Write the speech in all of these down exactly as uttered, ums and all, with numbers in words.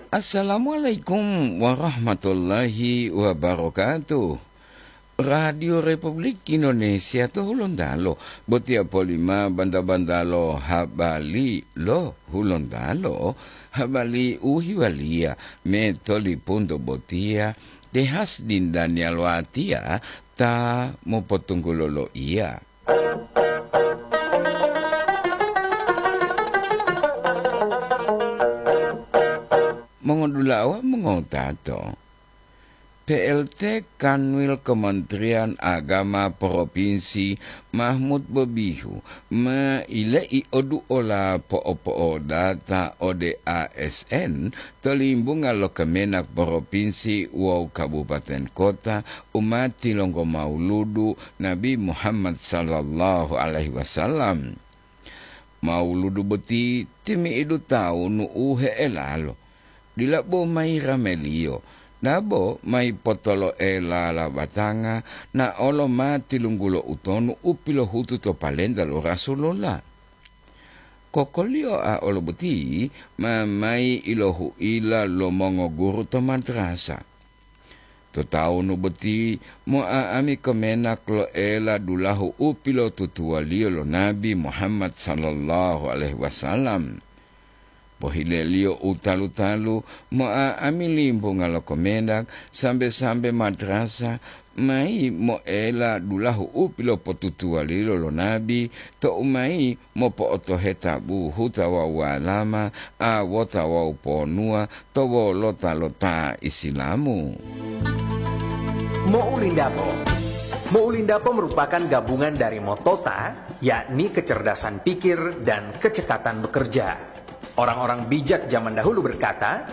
Assalamualaikum warahmatullahi wabarakatuh. Radio Republik Indonesia to Hulontalo, botiya polima banta-bantalo habari lo Hulontalo, habari u hiwaliya me tolipunto botiya, tehas dindaniya lo atiya ta mopotunggulo lo iya. Mongodulawa mongotato, P L T Kanwil Kementerian Agama Provinsi Mahmud Bobihu ma ile'i oduola po'opo'odata ode A S N to limbunga lo Kemenak Provinsi wawu Kabupaten Kota u ma tilonggo mauludu Nabi Muhammad sallallahu alaihi wasallam. Mauludu boti timi'idu tawunu u he'elalo, dila bo mayi rameliyo, dabo mayi potolo'ela labatanga, na olo ma tilunggulo utonu u pilohutu to palenta lo Rasulullah. Kokoliyoa olo boti ma mayi ilohuila lo mongoguru to madrasa. To tawunu boti mo'a'ami Kemenak lo'ela dulahu u pilotutuwaliyo lo Nabi Muhammad sallallahu alaihi wasallam. Pohileliyo u talu-talu, mo'a'ami limbunga lo Kemenak sambe-sambe madrasa mayi mo'ela dulahu u pilopotutuwaliyo lo Nabi tou mayi mopo'otoheta buhuta wawu walama, awota wawu ponuwa to wolota lo ta Isilamu. Mo'ulindapo. Mo'ulindapo merupakan gabungan dari motota, yakni kecerdasan pikir dan kecekatan bekerja. Orang-orang bijak zaman dahulu berkata,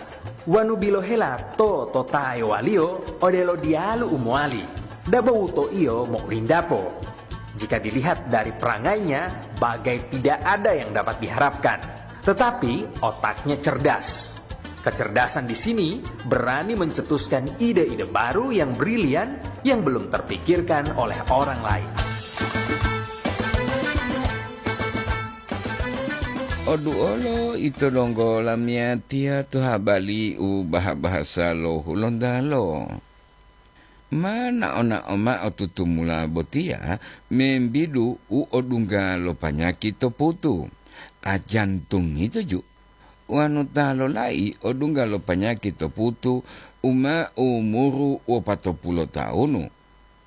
"Wanu bilohela to totaewaliyo odelo diyalu u mowali, dabo wutoiyo mo'ulindapo." Jika dilihat dari perangainya, bagai tidak ada yang dapat diharapkan. Tetapi otaknya cerdas. Kecerdasan di sini berani mencetuskan ide-ide baru yang brilian yang belum terpikirkan oleh orang lain. Oduolo ito donggo lamiyatiya to habari u baha-bahasa lo Hulontalo. Ma nao-nao mao tutumula botiya membidu u odungga lo panyaki to putu, a jantung ito ju. Wanu ta lolai odungga lo panyaki to putu u ma umuru wopatopulo tawunu,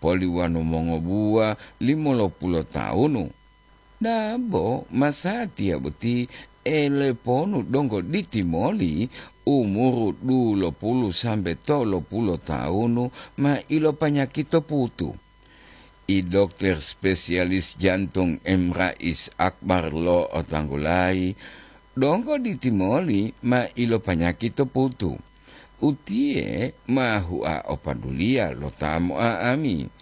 poli wanu mongobuwa limolopulo tawunu. Dabo masatiya boti eleponu donggo ditimoli umuru dulopulu sambe tolopulu tawunu ma ilopanyaki to putu. I dokter spesialis jantung M. Rais Akbar lo'otanggulayi, donggo ditimoli ma ilopanyaki to putu. Utiye ma hua opaduliya lo ta mo'a'ami.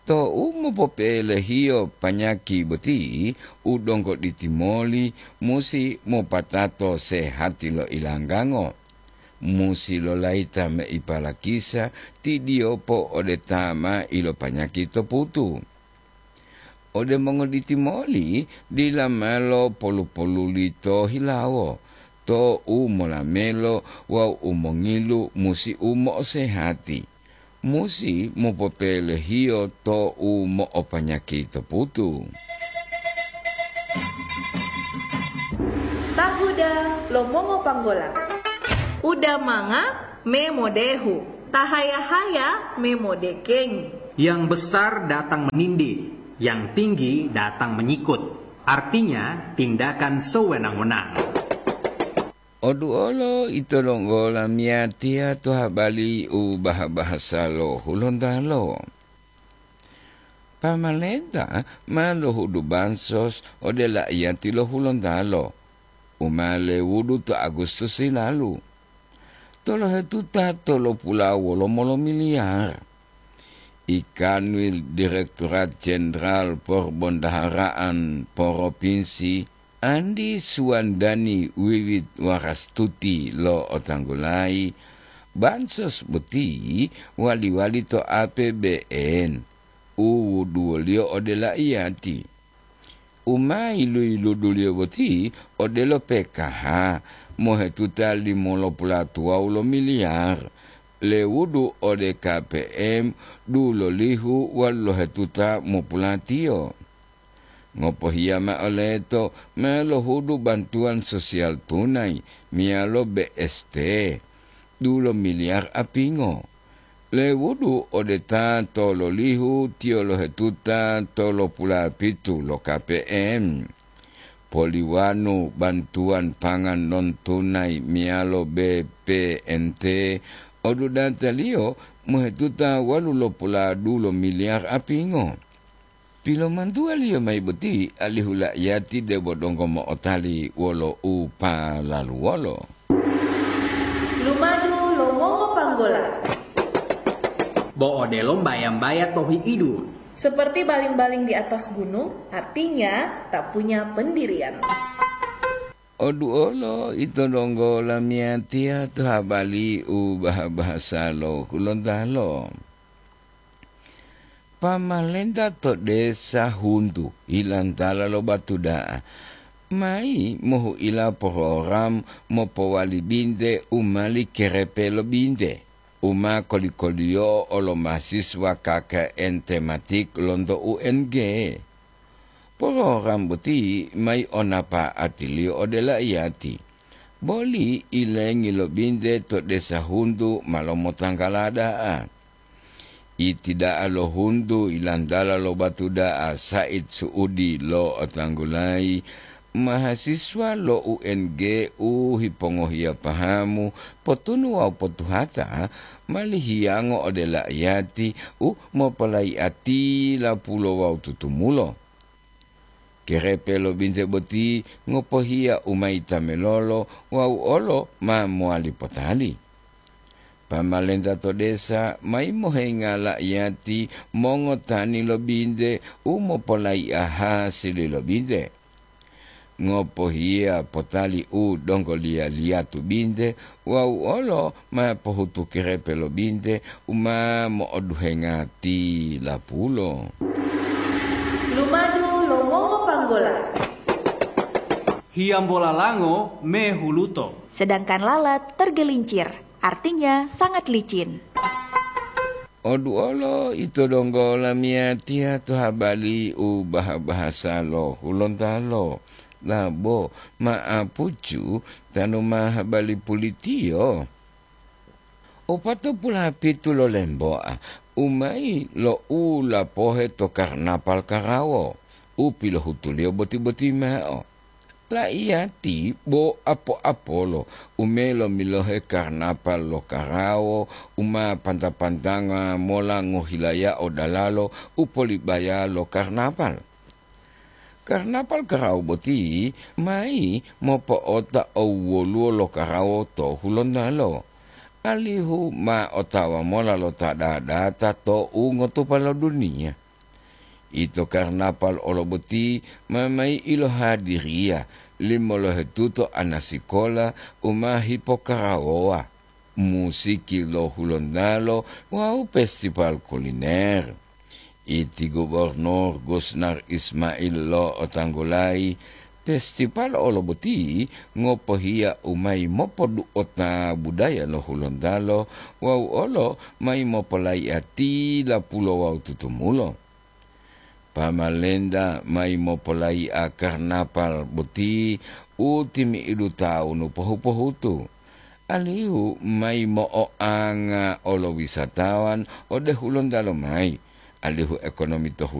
Tou mopopelehiyo panyaki boti, u donggo ditimoli musi mopatato sehati lo ilanggango. Musi lolayita meipa lakisa tidiyopo ode ta ma ilopanyaki to putu. Ode mongoditimoli dila malo polu-poluli to hilawo, to u molamelo wawu u mongilu musi u mo'osehati. Musi mopopelehiyo to u mo'opanyaki to putu. Tahuda lo mongopanggola. Uda manga me modehu, tahaya-haya me modekengi. Yang besar datang menindih, yang tinggi datang menyikut. Artinya, tindakan sewenang-wenang. Oduolo ito donggo lamiyatiya to habari u baha-bahasa lo Hulontalo. Pamalenta ma lohudu bansos ode laiyati lo Hulontalo, u ma lewudu to Agustus hilalu. Tolohetuta tolopula wolomo lo miliyar. I Kanwil Direktorat Jenderal Porbondaharaan Poropinsi Andi Suwandani Wiwit Warastuti lo'otanggulayi, bansos boti wali-wali to A P B N u wuduwoliyo ode laiyati. U ma yilu-yiluduliyo boti odelo P K H, mohetuta limolopulatuwawu lo miliyar, lewudu ode K P M dulolihu walu lohetuta mopulatiyo. Ngopohiya ma'o leto ma lohudu bantuwan sosial tunai meyalo B S T, dulo miliyar apingo. Lewudu ode ta tololihu tiyo lohetuta tolopulapitu lo K P M. Poliwanu bantuwan pangan non tunai meyalo B P N T, odudataliyo mohetuta walu lopuladu lo miliyar apingo. Pilomantuwaliyo mayi boti alihu la'iyati debo donggo mo'otali wolo u palaluwolo. Lumadu lo mongopanggola. Bo odelo mbaya-mbaya to hi'idu. Seperti baling-baling di atas gunung, artinya tak punya pendirian. Oduolo ito donggo lamiyatiya to habali u baha-bahasa lo Hulontalo. Pamalenta to desa Huntu, hilantala lo Batu Da'a, mayi mohu'ila program mopowali binte u mali kerepe lo binte, u ma koli-koliyo'o lo mahasiswa K K N tematik lonto U N G. Program boti mayi o napa'atiliyo ode la'iyati, boli ilengi lo binte to desa Huntu ma lomotanggala da'a. Iti da'a lo Huntu ilantala lo Batu Da'a Said Suudi lo'otanggulayi mahasiswa lo U N G u hipongohiya pahamu potunu wawu potuhata mali hiyango ode la'iyati u mopolayi'ati lapulo wawu tutumulo. Kerepe lo binte boti ngopohiya u ma yitamelolo wawu olo ma mowali potali. Pamalenta to desa mayi mohenga la'iyati mongotani lo binte u mopolayi'a hasili lo binte. Ngopohiya potali u donggo liya-liyatu binte wawu olo ma pohutu kerepe lo binte u ma mo'oduhenga tilapulo. Lumadu lo mongopanggola. Hiyambola lango mehuluto. Sedangkan lalat tergelincir, artinya sangat licin. Oduolo ito donggo lamiyatiya to habali u baha-bahasa lo Hulontalo, labo ma'apucu tanu ma habali pulitiyo. Opatopulapitu lo lemboa, u mayi lo u lapohe to karnapal karawo, u pilohutuliyo boti-boti mao. La'iyati bo apo-apolo u melomilohe karnapal lo karawo u ma panta-pantanga mola ngohilayao dalalo u polibaya lo karnapal. Karnapal karawo boti mayi mopo'ota owwoluwo lo karawo to Hulontalo, alihu ma otawa mola lo ta dadata to ungotupa lo duniya. Ito karnapal olo boti ma mayi ilohadiriya limolohetuto anasikola u ma hipokarawowa, musiki lo Hulontalo wawu festival kuliner. Iti Gubernur Gusnar Ismail lo'otanggulayi, festival olo boti ngopohiya u mayi mopodu'ota budaya lo Hulontalo wawu olo mayi mopolayi'a tilapulo wawu tutumulo. Pamalenta mayi mopolayi'a karnapal boti u timi'idu tawunu pohu-pohutu, alihu mayi mo'oanga olo wisatawan ode Hulontalo mayi, alihu ekonomi to Hulontalo